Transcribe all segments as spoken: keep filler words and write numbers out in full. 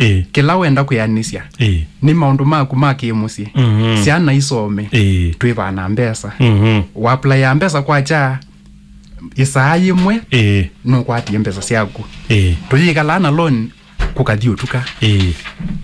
Ĩĩ. Kĩla wenda kwĩanĩsya Ĩĩ. Nĩ maũndũ maku ma kĩmũsyĩ. Mhm. Syana isome. Ĩĩ. Twĩvaa na mbesa. Mhm. Waplaya mbesa kwakya ĩsaa yĩmwe Ĩĩ. Nũkwatie mbesa syaku. Ĩĩ. Tũyĩkalaa na loan kũkathi ũtuka. Ĩĩ.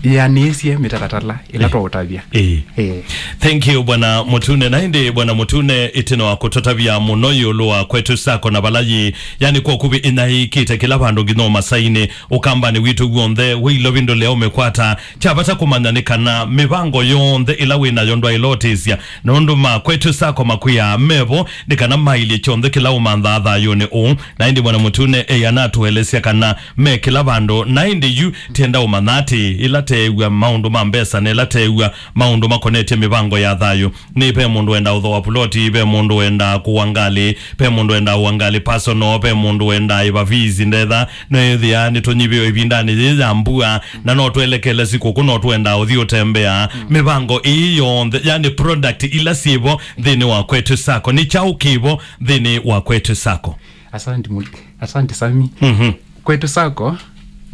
Yĩanĩsye mĩtalatala ĩla Ĩĩ. Twaũtavya. Ĩĩ. Ĩĩ. Thank you, Bwana Mũtune. Na ĩndĩ, Bwana Mũtune, ĩtina wa kũtũtavya mũno ĩũlũ wa Kwetu Sacco na vala yĩ, yani, kwa ũkuvĩ ĩnaĩkĩte kĩla vandũ nginya ũmasainĩ, ũkambanĩ witũ w'onthe, wĩ Ilovi ndũlea ũmĩkwata. Kya vata kũmanya nĩ kana mĩvango yonthe ĩla wĩ nayo ndwaĩlotĩsya, nũndũ ma Kwetu Sacco makwĩaa mevo, nĩ kana mailye kyonthe kĩla ũmanthaa thayũnĩ ũũ. Na ĩndĩ Bwana Mũtune eana atũelesya kana me kĩla vandũ, na ĩndĩ yu tienda ũmanya atĩ ĩla teew'a maũndũ ma mbesa na ĩla teew'a maũndũ makonetye mĩvango ya thayũ, nĩ ve mũndũ wendaa ũthooa puloti, ve mũndũ wendaa kũwa ngalĩ, ve mũndũ wendaa ũwa ngalĩ personal, ve mũndũ wendaa ĩva fees ndetha, no ĩthĩa nĩtũnyivĩwe ĩvindanĩ yĩĩ ya mbua, na no twelekele sikũkũ, no twendaa ũthi ũtembea. Mĩvango ĩĩ yonthe, yani product ila syĩvo nthĩnĩ wa Kwetu Sacco, nĩ kyaũ kĩvo nthĩnĩ wa Kwetu Sacco? Asante Mul-, asante Sami. Mhm. Kwetu Sacco,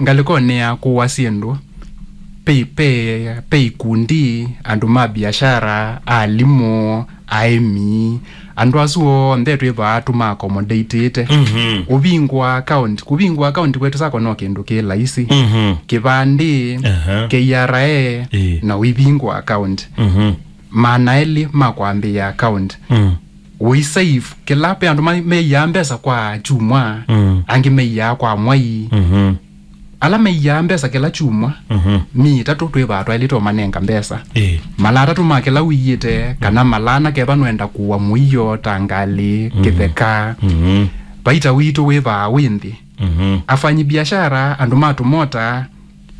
ngalĩkonĩ ya kũwa syĩndũ, pe, pe, pe ikundi, andũ ma biashara, alimũ, aĩmi, andũ asu onthe twĩvaa tũma accommodatĩte. Mhm. Ũvingũa account, kũvingũa account Kwetu Sacco no kĩndũ kĩ laisi. Mhm. Kĩvandĩ, Aha. K R A, Ĩĩ. Na ũivingũa account. Mhm. Maana elĩ ma kwambĩĩa account. Mm. Ũisave kĩla, pe andũ ma-, meiaa mbesa kwa kyumwa, Mm. Angĩ meiaa kwa mwai. Mhm. Ala meiaa mbesa kĩla kyumwa, Mhm. Myei ĩtatũ twĩvaa twaĩlĩte ũmanenga mbesa. Ĩĩ. Mala atatũ ma kĩla ũiĩte, kana mala ana keva nũenda kũwa mũio ta ngalĩ, Mhm. Kĩtheka. Mhm. Vaita witũ wĩvaa wĩ nthĩ. Mhm. Afanyi biashara, andũ ma tũmota,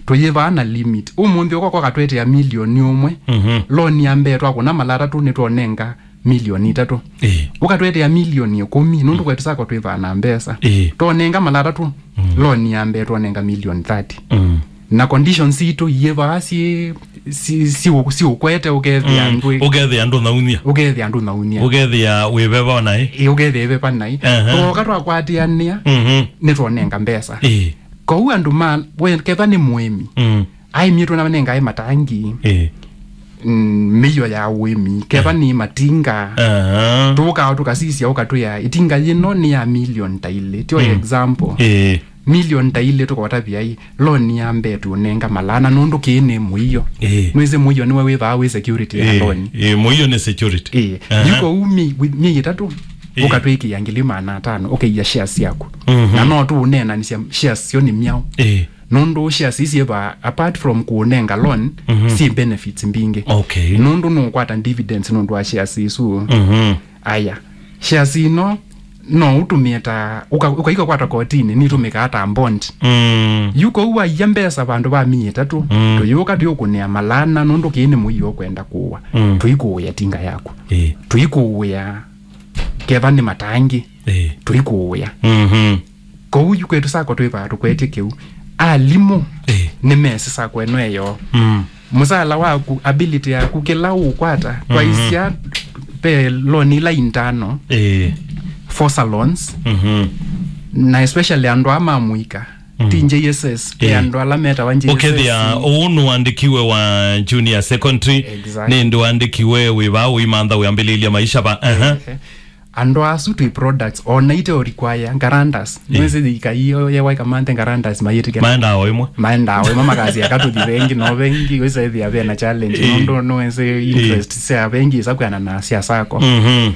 tũyĩvaa na limit. Ũmũnthĩ ũka ũkatwetea milioni ũmwe. Mhm. Loan ya mbee twakũna mala atatũ nĩtwonenga milioni itatũ. Ĩĩ. Ũkatwetea milioni ĩkũmi, nũndũ Kwetu Sacco twĩvaa na mbesa. Ĩĩ. Twonenga mala atatũ, Mm. Loan ya mbee twonenga milioni thirty. Mm. Na conditions sitũ iyĩvaa si, si, si, siũkwete ũkethĩa Mm. ndwĩ. Ũkethĩa ndũnauny'a. Ũkethĩa ndũnauny'a. Ũkethĩa wĩveva naĩ. Ĩĩ, ũkethĩa ĩveva naĩ. Aha. Twoka twakwatĩanĩa, Mhm. Nĩtwonenga mbesa. Ĩĩ. Kwoou andũ ma, we, kethwa nĩ mũĩmi, Mm. aĩmi twĩna manengae matangi, Ĩĩ. Mm, mĩio ya ũĩmi, kethwa nĩ matinga, Aha. Tũkaa tũkasisya ũkatwĩa, ĩtinga yĩno nĩ ya milioni ta ilĩ, tyo Mm. example. Ĩĩ. Milioni ta ilĩ tũkotavya i, loan ya mbee tũnenga malana, nũndũ kĩĩ nĩ mũio. Ĩĩ. Nwĩsĩ mũio nĩwe wĩvaa wĩ security ya Ĩĩ. Loan. Ĩĩ, mũio nĩ security. Ĩĩ. Aha. Yu kwoou mi-, wi-, myei ĩtatũ, Ĩĩ. Ũkatwĩkĩa ngili maana atano, ũkaiya shares syaku. Mhm. Na no tũũneenanĩsya shares syo nĩ myaũ. Ĩĩ. Nũndũ shares ici syĩva, apart from kũũnenga loan, Mhm. Syĩ benefits mbingĩ. Okay. Nũndũ nũũkwata dividends nũndũ wa shares isu. Mhm. Aya. Shares ino no ũtũmĩe ta, ũka-, ũkaika kwata kotinĩ, nĩtũmĩkaa ta bond. Mm. Yu kwoou waiya mbesa vandũ va myei ĩtatũ, Mm. Tũyũka tũyũkũnĩa malana nũndũ kĩĩ nĩ mũio ũkwenda kũwa. Mm. Tũikũũĩa tinga yaku. Ĩĩ. Tũikũũĩa keva nĩ matangi. Ĩĩ. Tũikũũĩa. Mhm. Kwoou yu Kwetu Sacco twĩvaa tũkwetye kĩu. Alimũ Ĩĩ. Nĩmesĩ Sacco ĩno ĩyo. Mm. Mũsala waku, ability yaku, kĩla ũkwata, Mhm. Twaisya pe loan ila internal, Ĩĩ. Foster loans, Mhm. Na especially andũ aa ma mũika, Mm. Ti J S S, Ĩĩ. Andũ ala metawa J S S. Ũkethĩa ũũ nũandĩkiwe wa junior secondary, Exactly. Nĩ ndũandĩkiwe wĩva ũimantha wĩambĩlĩlya maisha va. Aha. Ehe. Andũ asu twĩ products, ona ite o require guarantors. Ĩĩ. Nwĩsĩ thirikari iyo yewa ĩkamanthe guarantors mayĩtĩkĩla. Maendaa o ĩmwe. Maendaa o ĩmwe makasya katũthi vengi, no vengi wĩsethĩa vena challenge. Ĩĩ. Nũndũ nwĩsĩ Ĩĩ. Interest sya vengi isakwĩana na sya sacco. Mhm.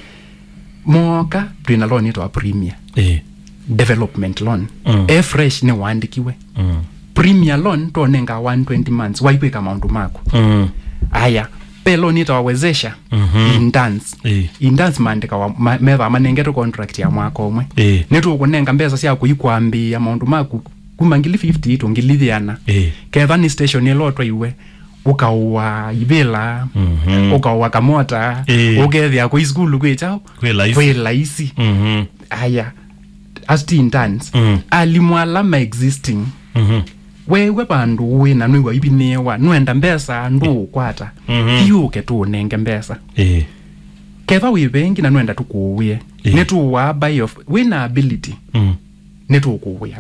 Moka, twĩna loan ĩtawa Premier. Ĩĩ. Development loan. Mm. E fresh nĩwaandĩkiwe. Mm. Premier loan tũnenga one twenty months, waikwĩka maũndũ maku. Mm. Aya, pe loan ĩtawa Wezesha, Mhm. Interns. Ĩĩ. Interns maandĩkawa, ma-, methĩwa manengetwe contract ya mwaka ũmwe. Ĩĩ. Nĩtũkũnenga mbesa sya kũikwambĩĩa maũndũ maku kuma ngili fifty to ngili ĩana. Ĩĩ. Kethĩwa nĩ station ĩla ũtwaiwe, ũkaũa ivĩla, Mhm. Ũkaũa kamota, Ĩĩ. Ũkethĩa kwĩ sukulu kwĩ kyaũ? Kwĩ laisi. Kwĩ laisi. Mhm. Aya, as ti interns, Mm. Alimũ ala ma existing, Mhm. Weew'a vandũ wĩ na nwĩw'a ivinĩĩwa, nũenda mbesa, ndũũkwata. Mhm. Thiĩ ũke tũũnenge mbesa. Ĩĩ. Kethwa wĩ vengi na nũenda tũkũũĩe, Ĩĩ. Nĩtũũaa by of, wĩ na ability. Mm. Nĩtũkũũĩa.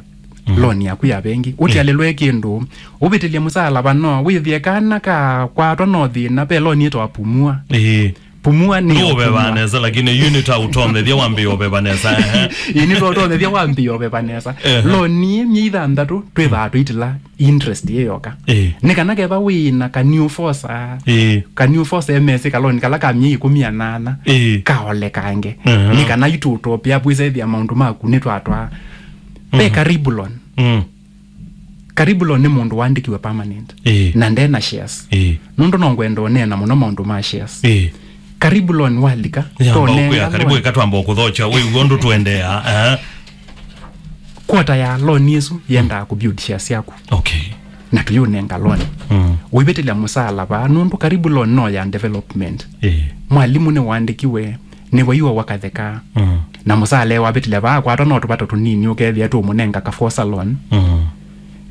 loan yaku ya vengi, ũtialĩlwe kĩndũ, ũvĩtĩlye mũsaala vano, wĩthĩe kana kakwatwa no thĩna, ve loan ĩtawa Pumua. Ĩĩ. Pumua nĩ ya ndũũvevaa kũmua nesa, lakini yu nĩtwaũtonyethya wambĩĩa ũveva nesa. Ehe. Ĩĩ, nĩtwaũtonyethya wambĩĩa ũveva nesa. Ehe. Loan ĩĩ myei thanthatũ twĩthaa tũitĩla interest yĩ yoka. Ĩĩ. Nĩ kana kethwa wĩ na ka new force, ĩĩ, ka new force M S, ka loan kala ka myei ĩkũmi na nana, ĩĩ, kaolekange. Ehe. Nĩ kana itũtopia pwĩsa ĩthĩa maũndũ maku nĩtwatwaa. Ve Karibu Loan. Mm. Karibu Loan nĩ mũndũ waandĩkiwe permanent. Ĩĩ. Na ndena shares. Ĩĩ. Nũndũ no ngwenda ũneena mũno maũndũ ma shares. Ĩĩ. Karibu Loan walika, yamba tũnenga ũkwĩa, Karibu loan. Ĩka twamba ũkũthokya, wĩw'e ũndũ tũendeea. Eh. Quarter ya loan ĩsu yendaa kũbuild shares syaku. Okay. Na tũyũnenga loan. Mm. Ũivĩtĩlya mũsaala vaa, nũndũ Karibu Loan no ya development. Ĩĩ. Mwalimũ nĩwaandĩkiwe, nĩwaiwa wakatheka. Mm. Na mũsaala wavĩtĩlya vaa kwatwa no tũvato tũnini ũkethĩa tũmũnenga ka forcer loan. Mm.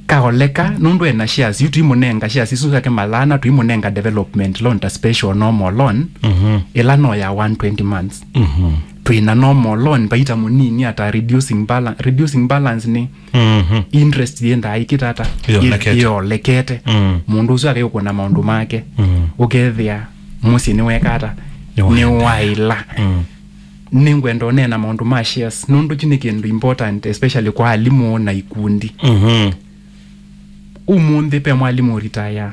Kaoleka, nũndũ ena shares, yu tũimũnenga shares isu syake malana, tũimũnenga development loan ta special normal loan, mhm, ĩla no ya one twenty months. Mhm. Twĩna normal loan, vaita mũnini ata reducing balan-, reducing balance nĩ, mhm, interest yĩendaa ĩkĩta ata? Yĩolekete. Yĩolekete. Mm. Mũndũ ũsu akaiũkũna maũndũ make. Mm. Ũkethĩa mũsyĩ nĩweka ata? Nĩwaendeea. Nĩwaĩla. Mm. Nĩngwenda ũneena maũndũ ma shares, nũndũ kyu nĩ kĩndũ important, especially kwa alimũ na ikundi. Mhm. Ũmũnthĩ ve mwalimũ ũritaya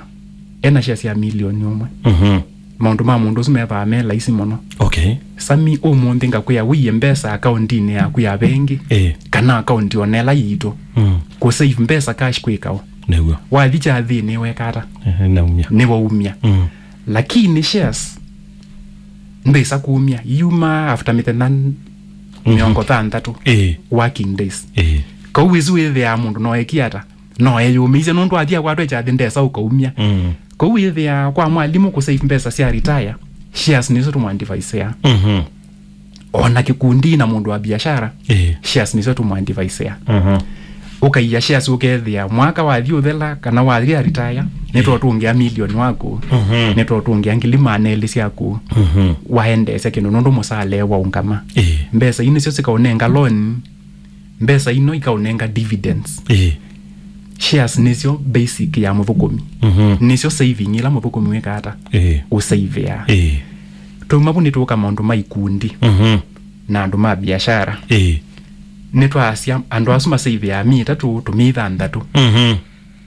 ena shares ya milioni ũmwe. Mhm. Maũndũ ma mũndũ ũsu methĩawa me laisi mũno. Okay. Sami, ũmũnthĩ ngakwĩa wĩie mbesa akauntinĩ yaku ya vengi, ĩĩ, kana akaunti ona ĩla yitũ. Mm. Kũsave mbesa cash kwĩka ũ? Nĩw'o. Wathi kyathĩnĩ weka ata? Ehe, naumya. Nĩwaumya. Mm. Lakini shares ndwĩsa kumya, yuma after mĩthenya mĩongo thanthatũ, ĩĩ, working days. Ĩĩ. Kau ĩsu wĩthĩaa mũndũ no ekie ata? No eyũmĩisye nũndũ athi akwatwe kyathĩ ndesa ũkaumya. Mm. Kau wĩthĩaa kwa mwalimũ kũsave mbesa sya retire, shares nĩsyo tũmwadviseaa. Mhm. Ona kĩkundi na mũndũ wa biashara, ĩĩ, shares nĩsyo tũmwadviseaa. Mhm. Ũkaia shares ũkethĩa mwaka wathi ũthela kana wathi retire, nĩtũũtũngĩa milioni waku, mhm, nĩtũũtũngĩa ngili maana elĩ syaku, mhm, waendeesya kĩndũ nũndũ mũsaala waũngama. Ĩĩ. Mbesa ii nĩsyo sikaũnenga loan, mbesa ino ikaũnenga dividends. Ĩĩ. Shares nĩsyo basic ya mũthũkũmi. Mhm. Nĩsyo saving ĩla mũthũkũmi wĩkaa ata? Ĩĩ. Ũsaivĩaa. Ĩĩ. Twauma vu nĩtũũka maũndũ ma ikundi, mhm, na andũ ma biashara. Ĩĩ. Nĩtwaasya andũ asu masaivĩaa myei ĩtatũ, tũmyei thanthatũ. Mhm.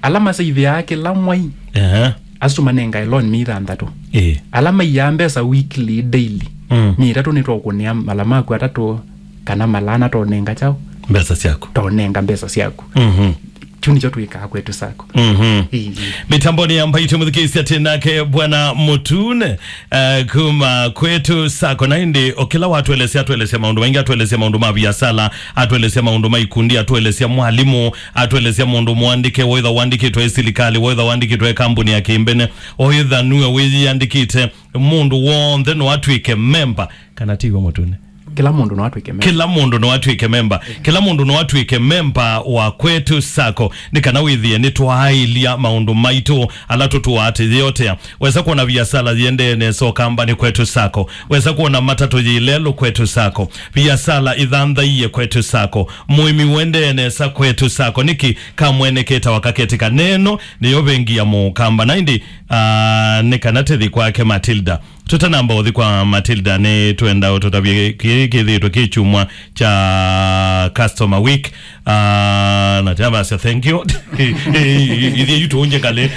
Ala masaivĩaa kĩla mwai, ehe, asu tũmanengae loan myei thanthatũ. Ĩĩ. Ala maiaa mbesa weekly, daily, mm, myei ĩtatũ nĩtwaũkũnĩa mala maku atatũ kana mala ana twaũnenga kyaũ? Mbesa syaku. Twaũnenga mbesa syaku. Mhm. Kyu nĩkyo twĩkaa Kwetu Sacco. Mhm. Ĩĩ. Mĩtamboni ya Mbaitũ mũthikĩĩsya tĩ nake Bwana Mũtune, eh, kuma Kwetu Sacco. Na ĩndĩ o kĩla watũelesya, atũelesya maũndũ maingĩ, atũelesya maũndũ ma viasala, atũelesya maũndũ ma ikundi, atũelesya mwalimũ, atũelesya mũndũ mũandĩke, wĩtha wandĩkĩtwe ĩ silikalĩ, wĩtha wandĩkĩtwe ĩ kambuni ya kĩmbene, o ĩtha nue wĩyĩandĩkĩte, mũndũ w'onthe no atw'ĩke memba, kana ti w'o Mũtune? Kĩla mũndũ no atw'ĩke memba. Kĩla mũndũ no atw'ĩke memba. Kĩla mũndũ no atw'ĩke memba wa Kwetu Sacco, nĩ kana wĩthĩe nĩtwaaĩlya maũndũ maitũ ala tũtũaa tũyĩotea. Wesa kwona viasala yĩendee nesa Ũkambanĩ, Kwetu Sacco. Wesa kwona matatũ yĩ lelũ, Kwetu Sacco. Viasala ithanthaie, Kwetu Sacco. Mũĩmi ũendee nesa, Kwetu Sacco. Nĩkĩ kamwene ketawa kaketĩka? Neno nĩyo vengi ya Mũkamba. Na ĩndĩ, ah, nĩ kana tĩthi kwake Matilda. Tũtanamba ũthi kwa Matilda, nĩ twenda ũtũtavye kĩĩ kĩthĩĩtwe kĩ kyumwa kya Customer Week. Ah, na tyavasya thank you. Ithyĩ yu tũũnje ngalĩ.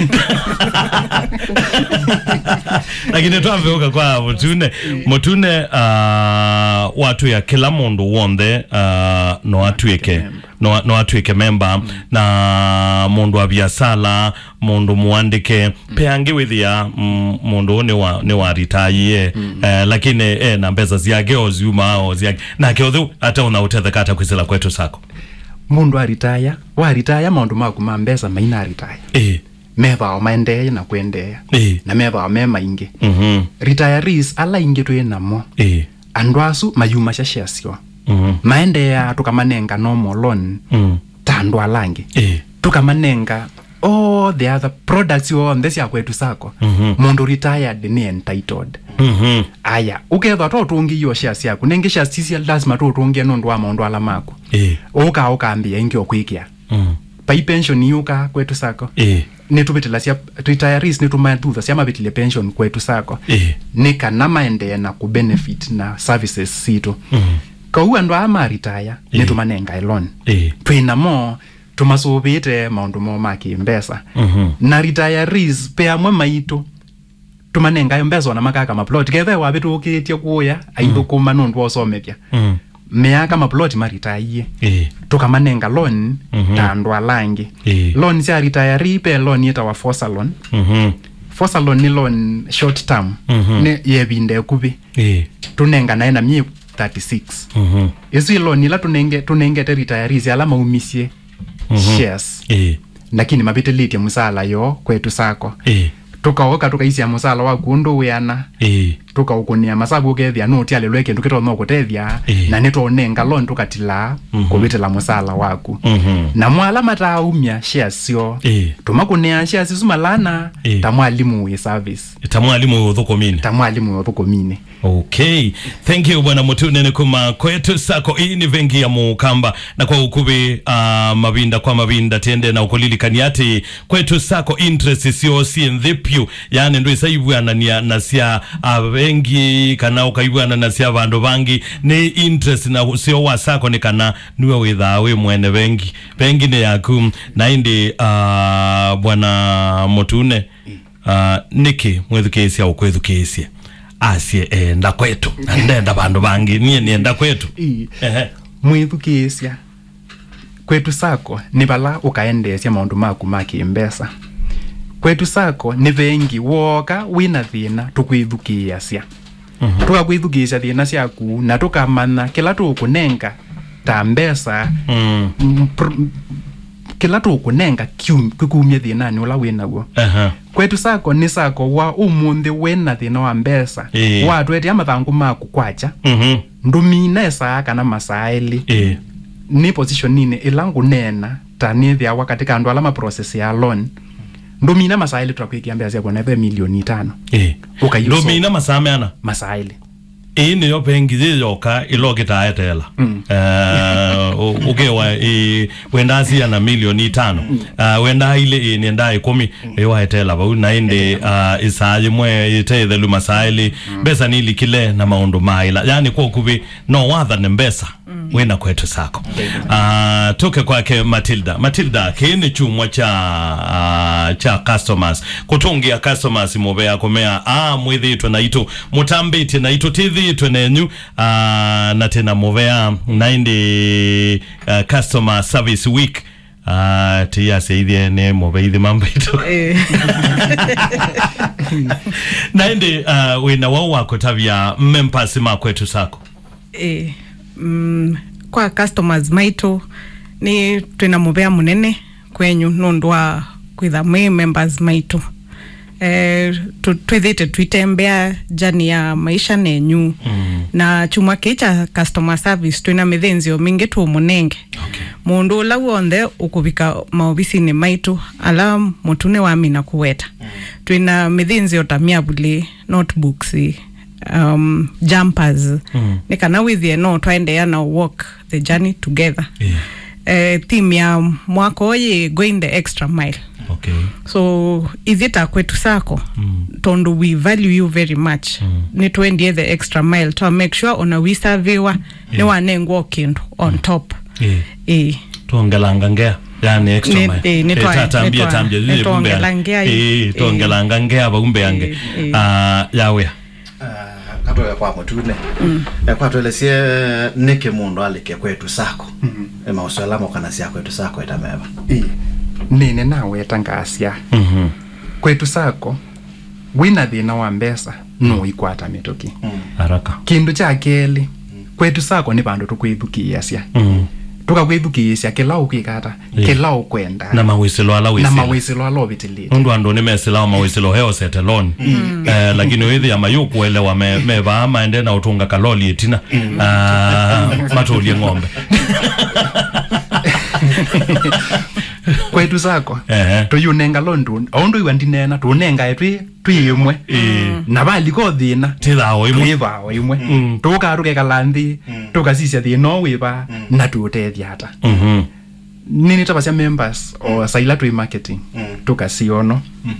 Lakini twambe ũka kwa Mũtune. Mũtune, ah, watwĩa kĩla mũndũ w'onthe, ah, no atw'ĩke, no, no atw'ĩke memba, na mũndũ wa viasala, mũndũ mũandĩke. Pe angĩ wĩthĩa, mm, mũndũ ũũ nĩ wa, nĩ wa retire, eh, lakini e na mbesa syake o syumaa o syake. Nake ũtheu ataona ũtetheka ata kwĩsĩla Kwetu Sacco? Mũndũ aritaya, waritaya maũndũ maku ma mbesa maina aritaya. Ĩĩ. Methao maendee na kwendeea. Ĩĩ. Na methao me maingĩ. Mhm. Retirees ala aingĩ twĩ namo. Ĩĩ. Andũ asu mayumasya shares syoo. Mhm. Maendeeaa tũkamanenga normal loan, mm, ta andũ ala angĩ. Ĩĩ. Tũkamanenga all the other products onthe sya Kwetu Sacco. Mhm. Mũndũ retired nĩ entitled. Mhm. Aya, ũkethwa to ũtũngĩie o shares syaku. Nengĩ shares sisya lazima tũũtũngĩe nũndũ wa maũndũ ala maku. Ĩĩ. Ũka ũkambĩĩa ĩngĩ o kwĩkĩa. Mm. Vai pension yũka Kwetu Sacco. Ĩĩ. Nĩtũvĩtĩlasya, retirees nĩtũmathuthasya mavĩtĩle pension Kwetu Sacco. Ĩĩ. Nĩ kana maendee na kũbenefit na services sitũ. Mm. Kau andũ aa ma retire, ĩĩ, nĩtũmanengae loan. Ĩĩ. Twĩ namo, tũmasũvĩĩte maũndũ moo ma kĩmbesa. Mhm. Na retirees, ve amwe maitũ, tũmanengae mbesa ona makaka maplot. Kethe wavĩtũkĩtye kũya, aithũkũma nũndũ wa ũsomethya. Mm. Meaka maplot maritaie. Ĩĩ. Tũkamanenga loan, mhm, ta andũ ala angĩ. Ĩĩ. Loan sya retiree, ve loan yĩtawa fosa loan. Mhm. Fosa loan nĩ loan short term. Mhm. Nĩ ya ĩvinda ĩkuvĩ. Ĩĩ. Tũnenganae na myei thirty-six. Mhm. Ĩsu ĩ loan ila tũnenge-, tũnengete retirees ala maumisye, mhm, shares. Ĩĩ. Lakini mavĩtĩlĩtye mũsaala yoo Kwetu Sacco. Ĩĩ. Tũkaoka tũkaisya mũsaala waku ũndũ wĩana. Ĩĩ. Tũkaũkũnĩa masavu ũkethĩa nũtialĩlwe kĩndũ kĩtonya kũtethya. Ĩĩ. Na nĩtwaũnenga loan tũkatilaa, mhm, kũvĩtĩla mũsaala waku. Mhm. Namo ala mataaumya shares syoo, ĩĩ, tũmakũnĩaa shares isu malana, ĩĩ, ta mwalimũ wĩ service. Ta mwalimũ wĩ ũthũkũminĩ. Ta mwalimũ wĩ ũthũkũminĩ. Okay. Thank you, Bwana Mũtune, nĩ kuma Kwetu Sacco. Ĩĩ nĩ vengi ya Mũkamba. Na kwa ũkuvĩ, ah, mavinda kwa mavinda, tiende na ũkũlilikania atĩ Kwetu Sacco interest syoo syĩ nthĩ vyũ. Yaani ndwĩsa ivw'anania na sya avengi kana ũkaivw'ana na sya vandũ vangĩ. Nĩ interest na ũseo wa sacco nĩ kana nĩwe wĩthaa wĩ mwene vengi. Vengi nĩ yaku. Na ĩndĩ, ah, Bwana Mũtune, ah, nĩkĩ mwĩthukĩĩsya ũkwĩthukĩĩsye asye, "Eh, ndenda Kwetu, na ndenda vandũ vangĩ, niĩ nĩenda Kwetu"? Ĩĩ. Ehe. Mwĩthukĩĩsya, Kwetu Sacco nĩ vala ũkaendeesya maũndũ maku ma kĩmbesa. Kwetu Sacco nĩ vengi, wooka wĩ na thĩna, tũkwĩthukĩĩasya. Mhm. Tũkakwĩthukĩĩsya thĩna syaku, na tũkamanya kĩla tũkũnenga ta mbesa, mm, m-, pr-, kĩla tũkũnenga kium-, kĩkumye thĩnanĩ ũla wĩ naw'o. Aha. Kwetu Sacco nĩ sacco wa ũmũnthĩ wĩ na thĩna wa mbesa. Ĩĩ. Watwetea mathangũ maku kwakya, mhm, ndũmina ĩsaa kana masaa elĩ. Ĩĩ. Nĩ positioninĩ ĩla ngũneena ta nĩthĩawa katĩ ka andũ ala ma process ya loan. Ndũmina masaa elĩ tũtakwĩkĩa mbesa syaku na ve milioni itano. Ĩĩ. Ũkaiũsoma. Ndũmina masaa meana? Masaa elĩ. Ĩĩ nĩyo vengi yĩ yoka ĩla ũkĩtaa eteela. Mm. Eh, ũ-, ũkĩwa, ĩĩ, wendaa siana milioni itano. Mm. Ah, wendaa ilĩ, ĩĩ, nĩendaa ĩkũmi. Mm. Ĩĩ, waeteela vau, na ĩndĩ, ah, ĩsaa yĩmwe ĩte ĩthelu masaa elĩ. Mm. Mbesa nilikile na maũndũ maĩla. Yaani, kwa ũkuvĩ, no wathane mbesa, mm, wĩna Kwetu Sacco. Ah, tũke kwake Matilda. Matilda, kĩĩ nĩ kyumwa kya, ah, kya customers. Kũtũngĩa customers mũvea kũmea, "Ah, mwĩthĩĩtwe naitũ, mũtambĩtye naitũ, tĩthĩĩtwe nenyu, ah, na tĩna mũvea." Na ĩndĩ, ah, Customer Service Week, ah, tĩyasyaithye nĩ mũveithi mambaitũ. Eh. Na ĩndĩ, ah, wĩna wau wa kũtavya members ma Kwetu Sacco? Eh, mm, kwa customers maitũ, nĩ twĩna mũvea mũnene kwenyu nũndũ wa kwĩtha mwĩ members maitũ. Eh, tũ-, twĩthĩte twitembea journey ya maisha nenyu. Mm. Na kyumwa kĩĩ kya customer service, twĩna mĩthĩnzĩo mingĩ tũmũnenge. Okay. Mũndũ ũla w'onthe ũkũvika maovisinĩ maitũ, ala Mũtune wamina kũweta. Mm. Twĩna mĩthĩnzĩo ta myavulĩ, notebooks, um, jumpers, mm, nĩ kana wĩthĩe no twaendeea na walk the journey together. Yeah. Eh, theme ya mwaka ũyũ yĩ going the extra mile. Okay. So, ithyĩ ta Kwetu Sacco, mm, tondũ we value you very much, mm, nĩtwendie the extra mile, twa make sure ona wisaviwa, yeah, nĩwanengwa o kĩndũ on, mm, top. Yeah. Eh. Twongelanga ngea, yani extra mile. Nĩ, eh, nĩtwa-, eh, tatambia, nĩtwa-, tambia, nĩtwongela ngea, eh, eh, twongelanga ngea vau mbeange. Eh, eh. Ah, ya wĩa. Ah, katũe kwa Mũtune. Mm. Eh, kwa twelesye nĩkĩ mũndũ alike Kwetu Sacco. Mm. Eh, maũseo ala mokanasya Kwetu Sacco ĩta meva. Ĩĩ. Nĩnĩ naweta ngasya. Mhm. Kwetu Sacco, wĩna thĩna wa mbesa, no ikwata mĩtũkĩ. Mm. Haraka. Kĩndũ kya kelĩ, Kwetu Sacco nĩ vandũ tũkwĩthukĩĩasya. Mm. Tũkakwĩthukĩĩsya kĩla ũkwĩka ata, ĩĩ, kĩla ũkwenda. Na mawĩsĩlo ala na wĩsĩla. Mawĩsĩlo ala ũvĩtĩlĩte. Nũndũ andũ nĩmesĩlawa mawĩsĩlo he osete loan. Mm. Eh, lakini wĩthĩa mayũkũelewa me, me vaa maende na ũtũnga kaloli ĩtina. Mm. Ah, matũlye ng'ombe. Kwetu Sacco, ehe, tũyũnenga loan tu, o ũndũ iwa ndineena, tũnengae twĩ, twĩ ĩmwe. Ĩĩ. Na valika o thĩna, twĩthaa o ĩmwe. Twĩthaa o ĩmwe. Mm. Tũkaa tũkekala nthĩ, mm, tũkasisya thĩna ũũ wĩva, mm, na tũũtethya ata. Mhm. Nĩnĩtavasya members o saila twĩ marketing, mm, tũkasiono. Mm.